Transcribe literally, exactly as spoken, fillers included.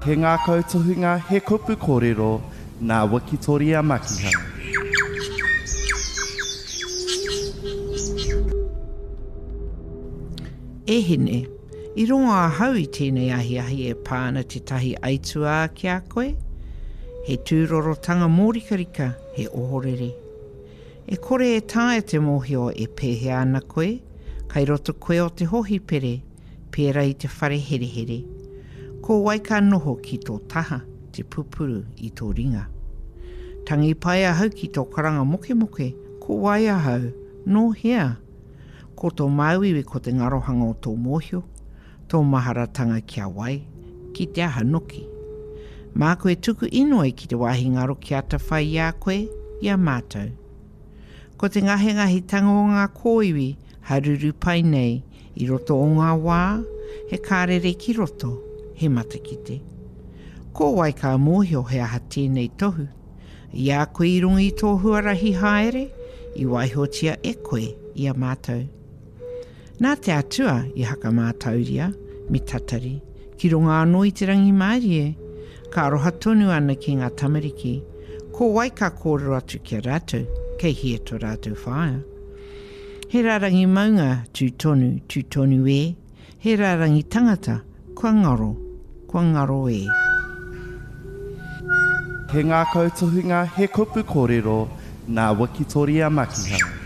He ngākau tohunga, he kupu kōrero nā Wikitoria Makiha. E hine, i rongo ahau i tēnei ahiahi e pā ana tētahi aituā ki a koe? He tūrorotanga mōrikarika, he ohorere. E kore e taea te mōhio e pēhea ana koe, kai roto koe o te hohipere, pērā i te whare herehere. Ko wai ka noho ki tō taha, te pupuru i tō ringa. Tangi pai ahau ki tō karanga mokemoke, ko wai ahau, nō hea? Ko tō māuiui ko te ngarohanga o tō mōhio, tō maharatanga ki a wai, ki te aha noki. Māku e tuku inoi ki te wāhi ngaro ki atawhai i a koe, i a mātou. Ko te ngahengahitanga o ngā kōiwi haruru pai nei i roto o ngā wā, he kārere ki roto, he matakite. Ko wai ka mōhio he aha tēnei tohu? I a koe i runga i tō huarahi haere, i waihotia e koe i a mātou. Nā te Atua i hakamātauria, me tatari, ki runga anō i te rangimārie, ka aroha tonu ana ki ngā tamariki, ko wai ka kōrero atu ki a rātou, kei hea tō rātou whaea. He rārangi maunga, tū tonu, tū tonu e, he rārangi tangata, kua ngaro, kua ngaro e. He ngākau tohunga, he kupu kōrero nā Wikitoria Makiha.